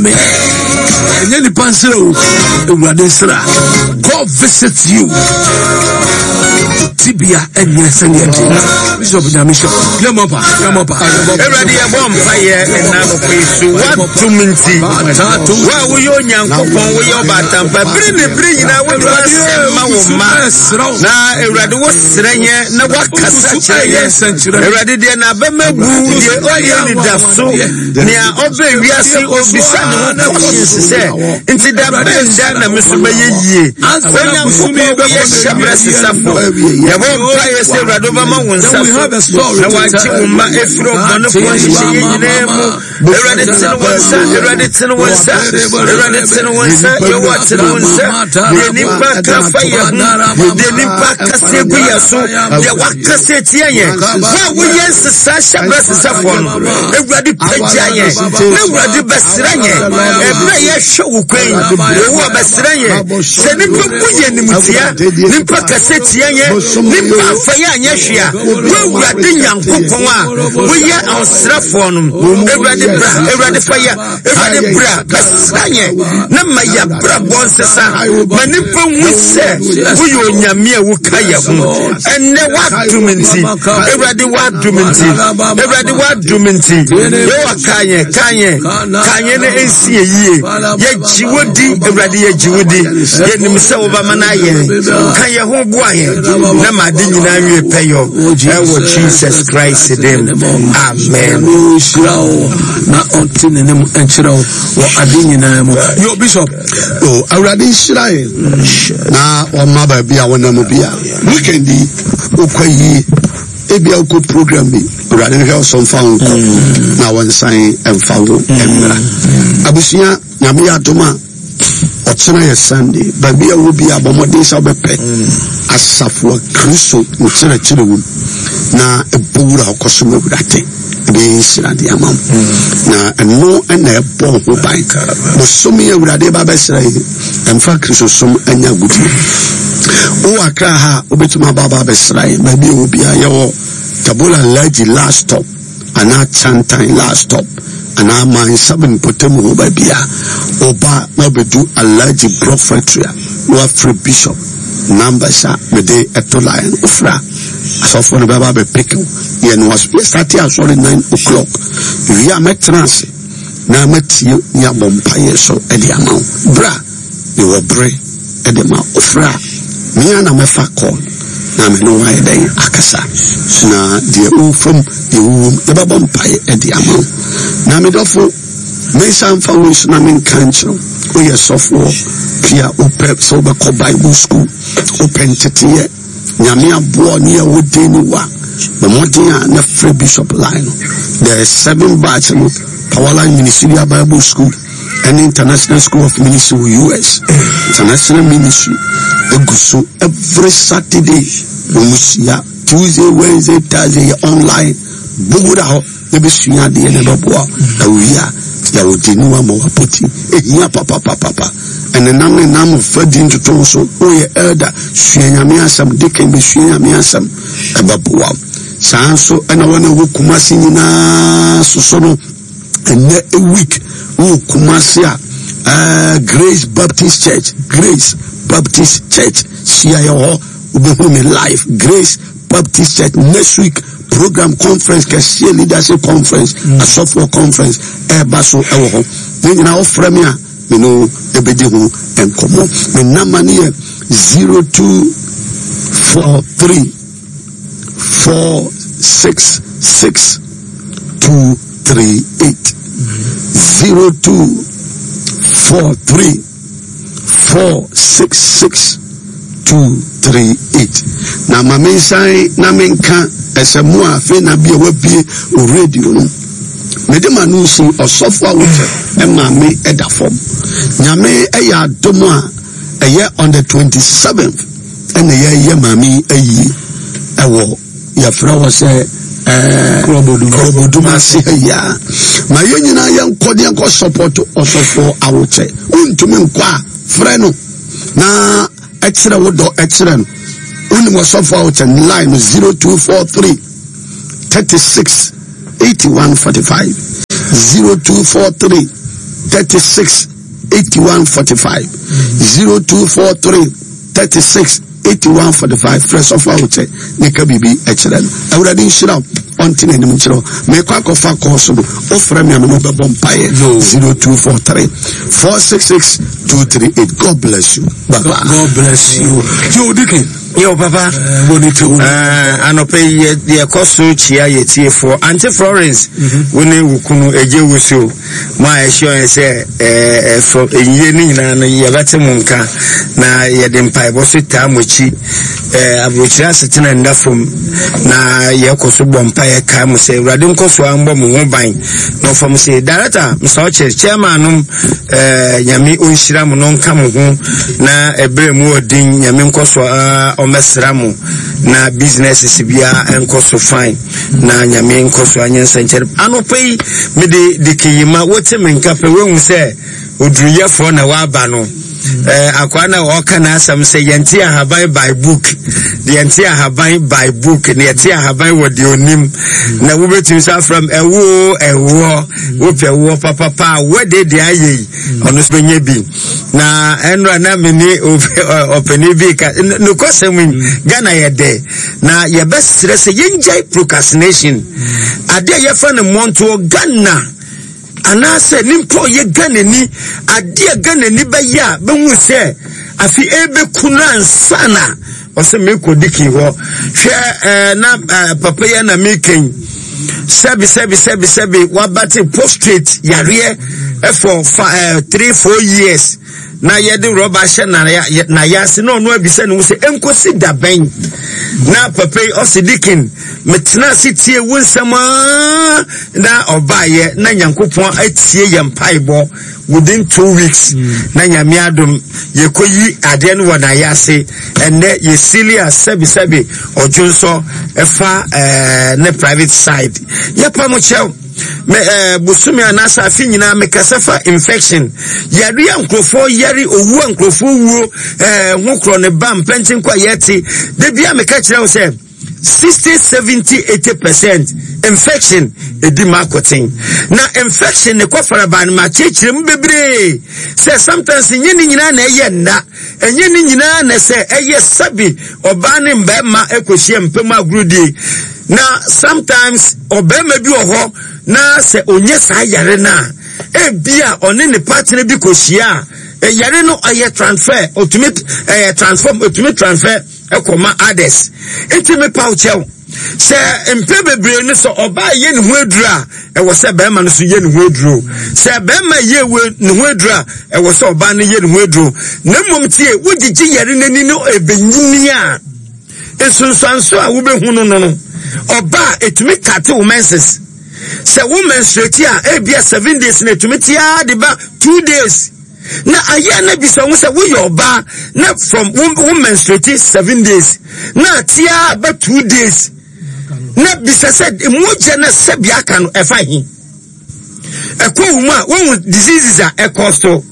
Me. Ɛnyɛ nipa nsira o, Awurade nsira. God visit you. Tibia ɛnyɛ sɛdeɛ ɛte. Bishop Nyame hyɛ. Yɛmmɔ pa, yɛmmɔ pa. Awurade yɛbɔ mpa yɛ ɛna anɔpa yi so woatom nti wo a woyɛ Onyankopɔn woyɛ ɔbaatampa bere ne bere nyinaa wode w'asɛm ma wo mma na Awurade wosrɛ yɛn na woakasa kyerɛ yɛn Awurade deɛ n'abɛma bu deɛ ɔyɛ anidaso Nea ɔbɛ wiase obisa ne ho questions sɛ, nti da bɛn da na me so mɛyɛ yie? Onyankopɔn woyɛ hyɛbrɛ sesafo. Yɛbɔ mpaeɛ sɛ Awurade wobɛma wo nsa so na wagye wo mma afiri ɔbɔnefoɔ nhyehyɛeɛ nyinaa mu. Awurade tene wo nsa, Awurade tene wo nsa, Awurade tene wo nsa, Yehowa tene wo nsa. Deɛ nipa ka fa yɛ ho, deɛ nipa kasa gu yɛ so, deɛ wakasa tia yɛn. Wo a woyɛ nsesa hyɛbrɛ sesafoɔ no, Awurade pagya yɛn na Awurade bɛsra yɛn ɛberɛ a yɛhwɛ wo kwan Yehowa bɛsra yɛn sɛ nipa bu yɛn nimtia nipa kɛse tia yɛn nipa afa yɛn anyɛ hwee a wo Awurade Nyankopɔn a woyɛ ɔsrafoɔ no Awurade bra Awurade fa yɛ Awurade bra bɛsra yɛn na ma yɛabrabɔ nsesa ma nipa hu sɛ woyɛ onyame a woka yɛ ho ɛnnɛ woadom nti awurade woadom nti awurade woadom nti yɛwɔ ka yɛn ka yɛn ka yɛn na ɛnsi yɛ yie yɛgye wo di awurade yɛgye wo di yɛnim sɛ wobɛma no ayɛ ka yɛn ho boa yɛn na ma ade nyinaa nwie pɛyɔ ɛwɔ jesus christ dim amen na ɔnte n'anim nkyerɛ wo wɔ ade nyinaa mu yo bishop o awurade nhyira yɛn na ɔma baabi a wɔnam bi a weekend yi wokɔ yie ebia wokɔ program bi awurade nhwɛ wo so mfa wo nkɔ mm. na wɔnsan mfa wo mmra mm. abusua nyame yɛ adom a ɔkyena yɛ sunday baabi a wɔ bi a bɔ mmɔden sɛ wobɛpɛ asafo a kristo nkyerɛkyerɛ wom na ɛbɔ wura ɔkɔsom awurade ɛbɛyɛ nhyira de ama wo na ɛno na ɛbɔ ho ban bosome awurade ba bɛsra yi ɛmfa kristosom anya agodie wowɔ akra ha a wobɛtumi aba aba abɛsra yi baabi a wɔ biara yɛwɔ tabola laji last stop anaa Chantan last stop anaa Mile 7 mpɔtam hɔ baabi a woba na wobɛdu Alhaji Block Factory a na wafrɛ Bishop numbers a mede ɛto line no wofrɛ a asɔfoɔ no bɛba abɛpeke wo yɛ no waso yɛsate asɔre 9 o'clock wie a mɛtena ase na matie ne abɔ mpaeɛ so de ama wo bra Mewɔ bere de ma wofrɛ a, me ara na mɛfa call na me ne wo ayɛ dɛn akasa. Na deɛ wofa mu, deɛ wowɔ mu, yɛbɛbɔ mpaeɛ de ama wo. Na me dɔfo, mensa mfa wei so na menka nkyerɛ wo. Woyɛ sɔfoɔ, pia wopɛ sɛ wobɛkɔ Bible school, wopɛ nteteeɛ, Nyame aboa ne yɛ wo den ne wa. Bɔ mmɔden a na frɛ Bishop line no. The seven batch no, Powerline Ministerial Bible School. ɛne International School of Ministry wɔ US. International Ministry egu so every Saturday wɔn hyia Tuesday, Wednesday, Thursday yɛ online bogora hɔ na bɛsua adeɛ na ɛbɛboa na wowie a yɛwɔ de ne wa ma wapɔti ehia papapapapa ɛnenam ne nam fa di ntoto so woyɛ elder sua nyame asɛm deacon bɛsua nyame asɛm ɛbɛboa saa nso ɛna wɔn a ɛwɔ Kumasi nyinaa soso no ɛnɛ week wɔ Kumasi a uh, Grace Baptist Church Grace Baptist Church hyia yɛ hɔ wobɛhu me live Grace Baptist Church next week program conference kɛseɛ leadership conference mm. asɔfoɔ conference ɛreba so ɛwɔ hɔ ne nyinaa wofrɛ me a me ne wo ɛbɛdi ho nkɔmmɔ me namba no yɛ 0243 4 6 6 2 3 8 0 2 4 3 4 6 6 2 3 8 na ma mensan na menka ɛsɛ mo a afei na bia wabie o radio no mede ma no si ɔsɔfo a wokyɛ ɛma me ɛda fam nyame ɛyɛ adom a ɛyɛ on the 27th ɛna yɛyɛ maame yi ayie ɛwɔ yɛfrɛ wɔ sɛ ɛɛ kurɔbodum ase ha yi a ma yɛn nyinaa yɛnkɔ ne yɛnkɔ support ɔsɔfoɔ awokyɛ wontumi nkɔ a frɛ no na ɛkyerɛ wo dɔ ɛkyerɛ no wonim ɔsɔfoɔ awokyɛ line no 0243 36 81 45 0243. 36 81 45. 0243 36 81 45. Frɛ sɔfo ahokyɛ ne ka biribi kyerɛ no. Awurade nhyira wo, ɔnte n'anim nkyerɛ wo. Mekɔ akɔfa kɔɔ so no, wofrɛ me a me ne wobɛbɔ mpaeɛ. 0243 466 238. God bless you. Bye bye. God bless you. Yo, Dickie. Yo, papa. Eh, anɔpɛ yi yɛkɔ so kyia yɛ tiefoɔ. Auntie Florence, mhm. wo ne wo kunu egye wusuo. Mo a ɛhyɛ yɛn sɛ ɛfɔ ɛnyie no nyinaa no yɛbɛte mo nka na yɛde mpaebɔ so taa mo akyi. Aburokyire asetena nda fam na yɛkɔ so bɔ mpaeɛ kae mo sɛ Awurade nkɔ so ambɔ mo ho ban na ɔfa mo sɛ director Mr. Ɔkyɛ chairman nom Nyame ɔnhyira mo na ɔnka mo ho na ɛberɛ mu ɔden Nyame nkɔ so ɔmmɛsra mo na businesses biara nkɔ so fine. Na Nyame nkɔ so anyɛ nsɛnkyerɛnne. Anɔpa yi, mede Dikiyima, wote me nka pɛ, woahu sɛ oduruyɛfoɔ na waba no. Eh, akwaa na ɔka n'asɛm sɛ yɛnte ahaban by book, yɛnte ahaban by book, na yɛte ahaban wɔ deɛ onim. Na wobɛtumi sɛ afrɛ m ɛwoo ɛwoɔ, wopɛ woɔ papapa a wɔde deɛ ayɛ yi, ɔno nso bɛnya bi. Na ɛnora na me ne ɔpanin bi ka, nokwasɛm yi, Ghana yɛ dɛ. Na yɛbɛsrɛ sɛ yɛngyae procrastination. Adeɛ a yɛfa no mmɔntoɔ Ghana anaasɛ nipa ɔyɛ Ghanani, adeɛ a Ghanani bɛyɛ a bɛhu sɛ afi ɛbɛku no ansa na ɔsɛ mekɔ diki hɔ. Hwɛ ɛɛ na ɛɛ papa yi na meka yi sɛbi sɛbi sɛbi sɛbi wabate prostrate yareɛ ɛfɔ fa ɛɛ 3-4 years. Na yɛde rɔba ahyɛ n'ayase na ɔno abisa ne ho sɛ enkosi da bɛn na papa yi ɔsi dikin metena ase tie wo nsɛm aa na ɔbaayɛ na nyankopɔn atie yɛn mpaebɔ within 2 weeks na Nyame adom yɛkɔyi adeɛ no wɔ n'ayase. Ɛnɛ yɛsili a sɛbisɛbi ɔdwonsɔ ɛfa ɛɛ ne private side. Yɛpa mo kyɛw me ɛɛ eh, bosome anaasɛ afe nyinaa mekasa fa infection yare a nkurɔfoɔ yare, owu a nkurɔfoɔ wuo ɛɛ eh, ho korɔ ne ba mpɛnkyen kɔ a yɛte da bi a meka kyerɛ wo sɛ 60, 70, 80% infection ɛdi ma akoten. Na infection ne kɔfaraba no makyerɛkyerɛ mu bebree sɛ sometimes nyɛ ne nyinaa na ɛyɛ nna, ɛnyɛ ne nyinaa na sɛ ɛyɛ sɛbi ɔbaa ne mmarima ɛkɔhyia mpam agorodie. Na sometimes ɔbarima bi wɔ hɔ na sɛ ɔnyɛ saa yare no a, ebi a ɔne ne partner bi kɔhyia a, yare no ɛyɛ transfer, ɔtumi ɛyɛ transform, ɔtumi transfer ɛkɔma others. Nti mepa wo kyɛw sɛ mpɛ bebree no sɛ ɔbaa yɛ ne ho aduro a, ɛwɔ sɛ bɛrima no so yɛ ne ho aduro. Sɛ bɛrima yɛ ne ho aduro a, ɛwɔ sɛ ɔbaa no yɛ ne ho aduro. Na mmom tie, wogyegye yare n'ani no ɛbɛnyini a, nsunsuanso a wobɛhu no no, ɔba a ɛtumi kate wo menses. Sɛ wo menstruate a, ebia 7 days na ɛtumi tea de ba 2 days. Na ayɛ na bisa ho sɛ woyɛ ɔbaa na from wo menstruate 7 days na tea ba 2 days, na bisa sɛ mogya na sɛbi aka no ɛfa he ɛkɔ wo mu a, wohu diseases a ɛkɔ so.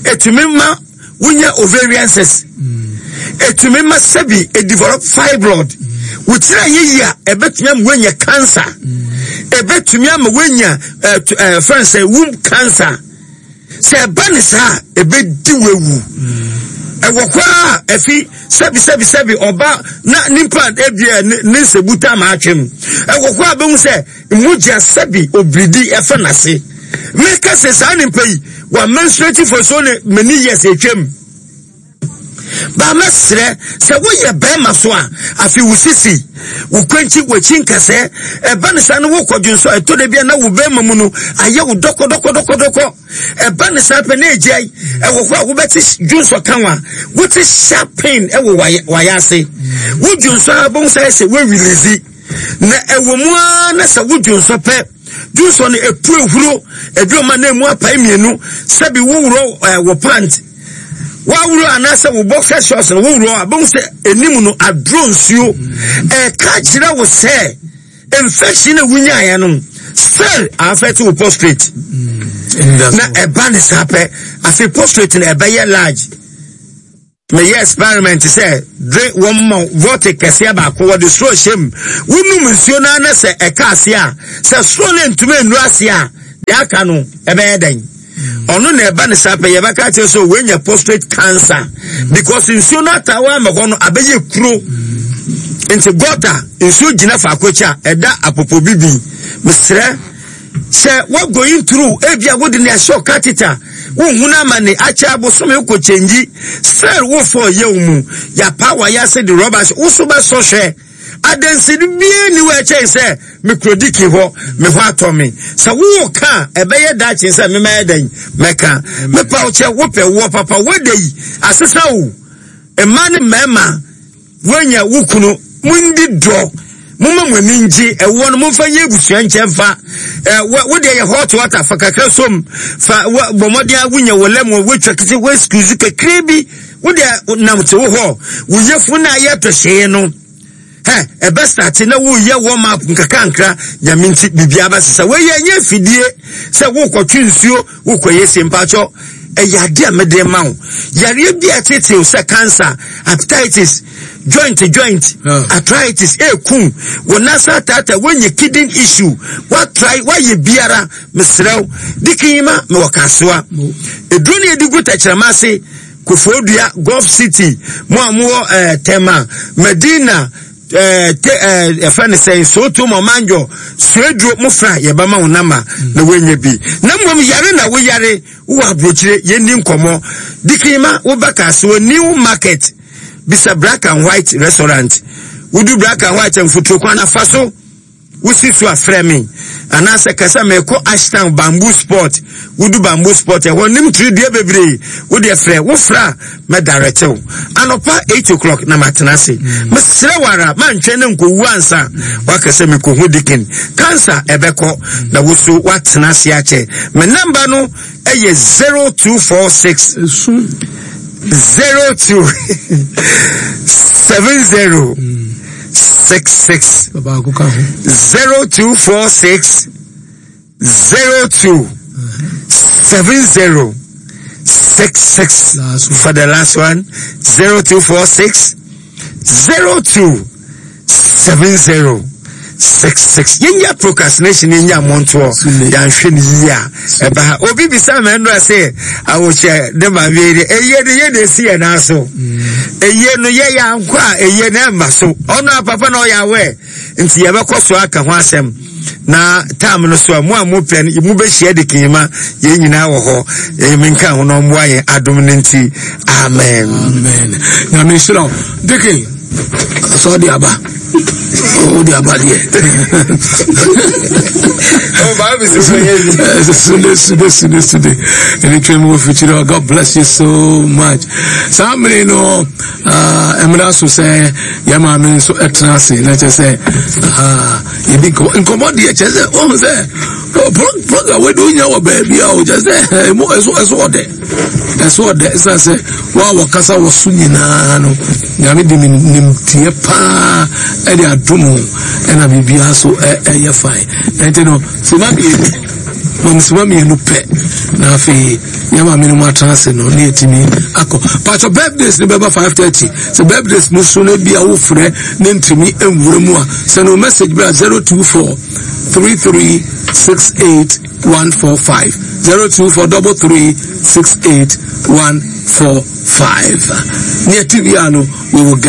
Ɛtumi ma wonya ovarian cyst, ɛtumi ma sɛbi ɛdevelop fibroid, wokyerɛ yɛ yi a ɛbɛtumi ama woanya cancer, ɛbɛtumi ama woanya fɛn sɛ womb cancer. Sɛ ɛba ne saa a, ɛbɛdi wawu. Ɛwɔ hɔ a ɛfi sɛbi sɛbi sɛbi ɔba na nipa ebia ne nsɛbuta ama atwam. Ɛwɔ hɔ a bɛhu sɛ mogya sɛbi obiridi ɛfa n'ase. Meka sɛ saa nipa yi wa menstruate for so many years atwam. Ba mɛsrɛ sɛ woyɛ bɛrima so a, afei wo sisi, wo kwankyi, w'akyi nkɛsɛ, ɛba ne saa no wokɔ dwonsɔ ɛtɔ da bi a na wo bɛrima mu no ayɛ wo dɔkɔdɔkɔdɔkɔdɔkɔ. Ɛba ne saa pɛ na egyae. Ɛwɔ hɔ a wobɛte dwonsɔ ka wa, wote sharp pain ɛwɔ wayɛ ase. Wo dwonsɔ a bɛhu sɛ ayɛ sɛ woawilizi. Na ɛwɔ mu ara na sɛ wo dwonsɔ pɛ, dwonsɔ no epu ehuro, ebi ɔma na emu apae mmienu, sɛbi woworɔ ɛɛ wɔ pant. Wawuro anaasɛ wo boxer shorts no wowuro a, bɛhu sɛ anim no aduro nsuo. Ɛka kyerɛ wo sɛ infection a wonyaeɛ no still affect wo prostate. Na ɛba ne saa pɛ, afei prostate no ɛbɛyɛ large. Meyɛ experiment sɛ dre wɔn ma vortic kɛseɛ baako, wɔde soro hyɛ mu, wonum nsuo no ara na sɛ ɛka ase a, sɛ soro no ntumi nnuru ase a, deɛ aka no ɛbɛyɛ dɛn? Ɔno na ɛba ne saa pɛ yɛbɛka kyerɛ sɛ wɔanya prostate cancer because nsuo no ataawa ama hɔ no abɛyɛ kuro. Nti gɔta nsuo gyina faako akyi a ɛda apopo bibi. Mesrɛ sɛ wa going through ebi a wode ne ahyɛ catheter wohunu amane akyɛ abosome wokɔ kyɛngyi still wofɔ yɛ wo mu yɛapa wayɛ ase de rɔba hyɛ wo so bɛsɔ hwɛ. Adansedi biara nni hɔ a ɛkyɛn sɛ mekura diki hɔ, me ho atɔ me. Sɛ wowɔ ka a, ɛbɛyɛ daakye sɛ memɛyɛ dɛn? Mɛka. Mepa wo kyɛ, wopɛ woɔ papa, woada yi, asesa o. Mmaa ne mmarima, woanya wo kunu, mondi dɔ, momma mo ani ngye, ɛwoɔ no momfa nyɛ abusua nkyɛ mfa. Wo deɛ yɛ hot water, fa kakra som, fa bɔ mmɔden a wonya wɔ lemon, woatwa kese, woasqueeze kakra bi, Wo deɛ nam te wo hɔ, wo yafunu na ayɛ pɛhyee no. Hɛ, ɛbɛ starte na woyɛ warm up nkakrankra, nyame nti biribiara bɛsesa. Wei yɛ nyɛ afidie sɛ wokɔtwe nsuo, wokɔyɛ sie mpakyɛ. Ɛyɛ adeɛ a mede ma wo. Yareɛ bi a ɛtetew sɛ cancer, hepatitis, joint joint, arthritis, ɛɛkum, wo nasa ataata, woanya kidney issue, woatry, woayɛ biara, mesrɛ wo, dikin ma mewɔ kasoa. Eduro ne yɛde gu tɛkyerɛma ase, Koforidua, Gulf City, mo a mowɔ ɛɛ eh, Tema, Medina, ɛɛ eh, te ɛɛ eh, yɛfrɛ no sɛn, Soto, Mɔmanjɔ, Sueduro, mo fra yɛbɛma wo nama na woanya bi. Na mmom yare na woyare, wowɔ aburokyire, yɛnni nkɔmmɔ. Dikinma, woba Kasoa New Market, bisa Black and White Restaurant. Wodu Black and White mfuturo kwan afa so. Wosi so a frɛ me anaasɛ ka sɛ merekɔ Ashtown Bamboo Spot. Wodu Bamboo Spot ɛhɔ nim tiri dua bebree. Wo deɛ frɛ, wo frɛ a mɛdarɛte wo. Anɔpa 8 o'clock na matena ase. Mesrɛ wo ara mantwɛn na nkɔwu ansa waka sɛ mekɔhu Deacon. Cancer ɛbɛkɔ na wo so woatena ase akyɛ. Me namba no ɛyɛ 0246 02 70 66 0246 02 70 66 for the last one 0246 02 70 66 yɛnya procrastination yɛnya mmɔntoɔ yɛanhwɛ no yie a ɛba ha obi bisa ma ɛnora sɛ awokyɛ ne maame yi deɛ ɛyie no yɛ na ɛsi yɛ nan so ɛyie no yɛyɛ ankɔ a ɛyie no ɛmma so ɔno a papa na ɔyɛ awɛ nti yɛbɛkɔ so aka ho asɛm na tam no so a mo a mopɛ no mobɛhyia de kima yɛn nyinaa wɔ hɔ ɛyɛ menka ho na ɔmmoa yɛn adom no nti amen amen nyame nhyira wo deke sɛ ɔde aba wode aba deɛ sude sude sude sude ɛne twam wɔ fikyiri hɔ god bless you so much saa mmere no mmara so sɛ yɛ maame nso ɛtena ase na kyerɛ sɛ yɛdi nkɔmmɔ nkɔmmɔ deɛ kyerɛ sɛ ɔhu sɛ program wei de wonya wɔ baabi a wokyerɛ sɛ ɛmu ɛso ɛso ɔdɛ ɛso ɔdɛ ɛsiane sɛ wo a wɔkasa wɔ so nyinaa no nyame de nimdeɛ paa ɛde adom ho ɛna biribiara so ɛyɛ fine ɛnti no sima mmienu mam sima mmienu pɛ na afei yɛ maame no mu atena ase no ne yɛtumi akɔ patɔ birthdays no bɛba 5:30 sɛ birthdays no so no bi a wofrɛ ne ntumi nwura mu a sɛ no message bra 024 33 68 145 024 33 68 145 ne ɛte wia no we will get.